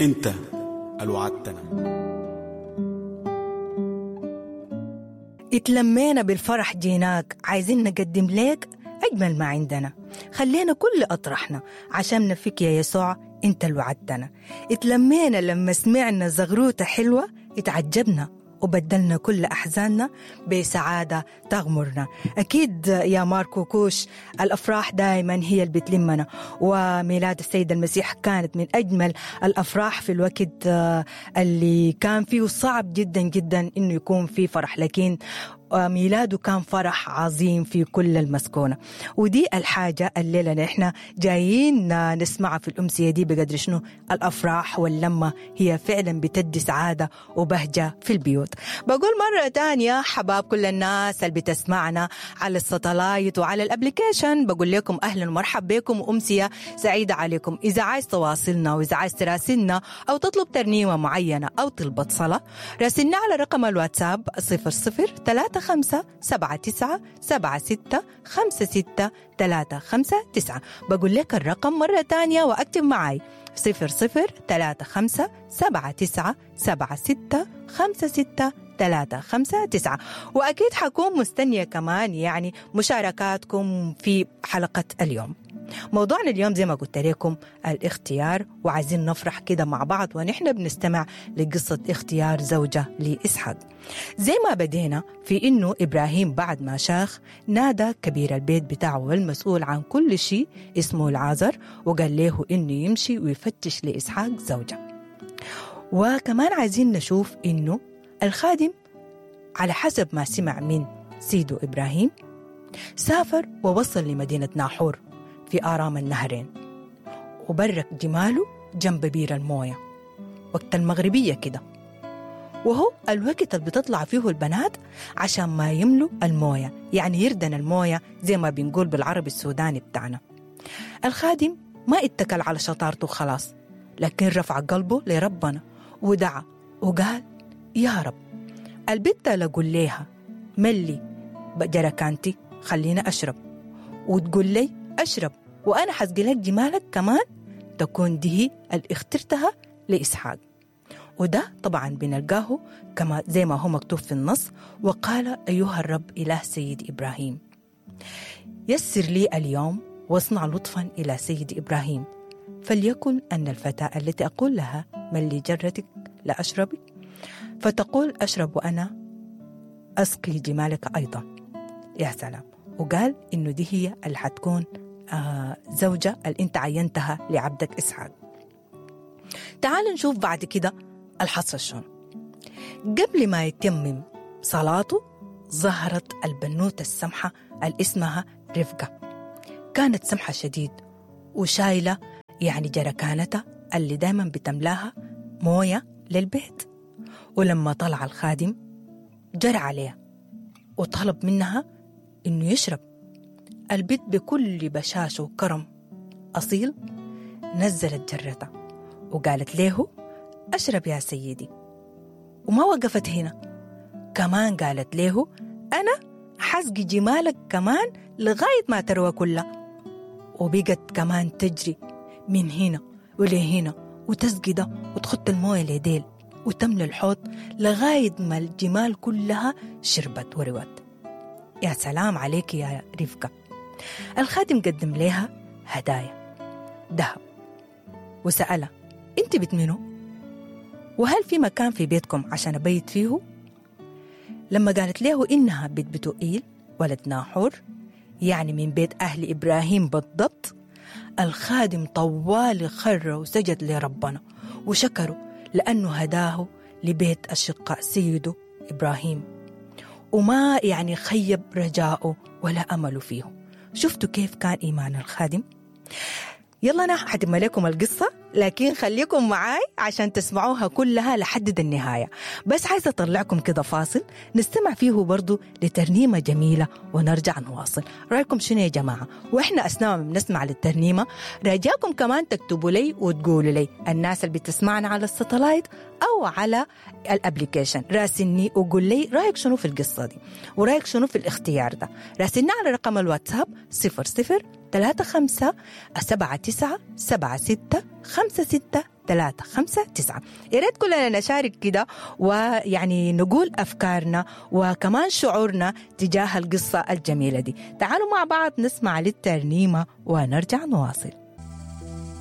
انت الوعدتنا. اتلمينا بالفرح جيناك، عايزين نقدم لك أجمل ما عندنا. خلينا كل أطرحنا عشان نفك يا يسوع انت اللي وعدتنا. اتلمينا لما سمعنا زغروتة حلوة، اتعجبنا وبدلنا كل أحزاننا بسعادة تغمرنا. أكيد يا ماركو كوش، الأفراح دائما هي اللي بتلمنا، وميلاد السيد المسيح كانت من أجمل الأفراح في الوقت اللي كان فيه صعب جدا جدا إنه يكون في فرح، لكن ميلاده كان فرح عظيم في كل المسكونة. ودي الحاجة الليلة نحن جايين نسمعها في الأمسية دي، بقدر شنو الأفراح واللمة هي فعلا بتدي سعادة وبهجة في البيوت. بقول مرة تانية حباب كل الناس اللي بتسمعنا على الستلايت وعلى ال application، بقول لكم أهلا ومرحبا بكم وأمسية سعيدة عليكم. إذا عايز تواصلنا وإذا عايز تراسلنا أو تطلب ترنيمة معينة أو طلبة صلاة، راسلنا على رقم الواتساب 00 35 79 76 56 359. بقول لك الرقم مرة تانية وأكتب معاي 00 35 79 76 56 359. وأكيد حكون مستنية كمان يعني مشاركاتكم في حلقة اليوم. موضوعنا اليوم زي ما قلت لكم الاختيار، وعايزين نفرح كده مع بعض ونحن بنستمع لقصة اختيار زوجة لإسحاق. زي ما بدينا في إنه إبراهيم بعد ما شاخ نادى كبير البيت بتاعه والمسؤول عن كل شيء اسمه العازر، وقال له إنه يمشي ويفتش لإسحاق زوجة. وكمان عايزين نشوف إنه الخادم على حسب ما سمع من سيده إبراهيم سافر ووصل لمدينة ناحور في آرام النهرين، وبرك جماله جنب بير الموية وقت المغربية كده، وهو الوقت اللي بتطلع فيه البنات عشان ما يملوا الموية، يعني يردن الموية زي ما بنقول بالعربي السوداني بتاعنا. الخادم ما اتكل على شطارته خلاص، لكن رفع قلبه لربنا ودعا وقال يا رب البت لقول ليها ملي جركانتي خلينا أشرب، وتقول لي أشرب وأنا حسقي لك جمالك كمان، تكون دي اللي اخترتها لإسحاق. وده طبعا بنلقاه كما زي ما هو مكتوب في النص، وقال أيها الرب إله سيد إبراهيم يسر لي اليوم واصنع لطفا إلى سيد إبراهيم، فليكن أن الفتاة التي أقول لها ملي جرتك لا أشربي، فتقول أشرب وأنا أسقي جمالك أيضا. يا سلام. وقال إنه دي هي اللي حتكون زوجة اللي أنت عينتها لعبدك إسحاق. تعال نشوف بعد كده الحصل شنو. قبل ما يتمم صلاته ظهرت البنوتة السمحة اللي اسمها رفقة. كانت سمحة شديد وشايلة يعني جركانتها اللي دايما بتملاها موية للبيت. ولما طلع الخادم جرى عليها وطلب منها إنه يشرب. البيت بكل بشاشة وكرم أصيل نزلت جرتها وقالت له أشرب يا سيدي. وما وقفت هنا، كمان قالت له أنا حسقي جمالك كمان لغاية ما تروى كلها. وبقت كمان تجري من هنا ولهنا وتسقي ده وتخط الموية لديل وتملى الحوض لغاية ما الجمال كلها شربت وروت. يا سلام عليك يا رفقة. الخادم قدم لها هدايا ذهب وسألها أنت بنت منو؟ وهل في مكان في بيتكم عشان أبيت فيه؟ لما قالت له إنها بيت بتوئيل ولد ناحور، يعني من بيت أهل إبراهيم بالضبط، الخادم طوال خر وسجد لربنا وشكره لأنه هداه لبيت أشقاء سيده إبراهيم، وما يعني خيب رجاؤه ولا أمله فيه. شفتوا كيف كان إيمان الخادم؟ يلا أنا حتم لكم القصة، لكن خليكم معاي عشان تسمعوها كلها لحد النهاية. بس عايزة أطلعكم كده فاصل نستمع فيه برضو لترنيمة جميلة ونرجع نواصل. رأيكم شنو يا جماعة؟ وإحنا أثناء ما بنسمع للترنيمة رجاكم كمان تكتبوا لي وتقولوا لي، الناس اللي بتسمعنا على الستلايت أو على ال application، راسلني وقول لي رأيك شنو في القصة دي ورأيك شنو في الاختيار ده. راسلني على رقم الواتساب 00 35 79 76 56 3 5 9. يا ريت كلنا نشارك كده، ويعني نقول أفكارنا وكمان شعورنا تجاه القصة الجميلة دي. تعالوا مع بعض نسمع للترنيمة ونرجع نواصل.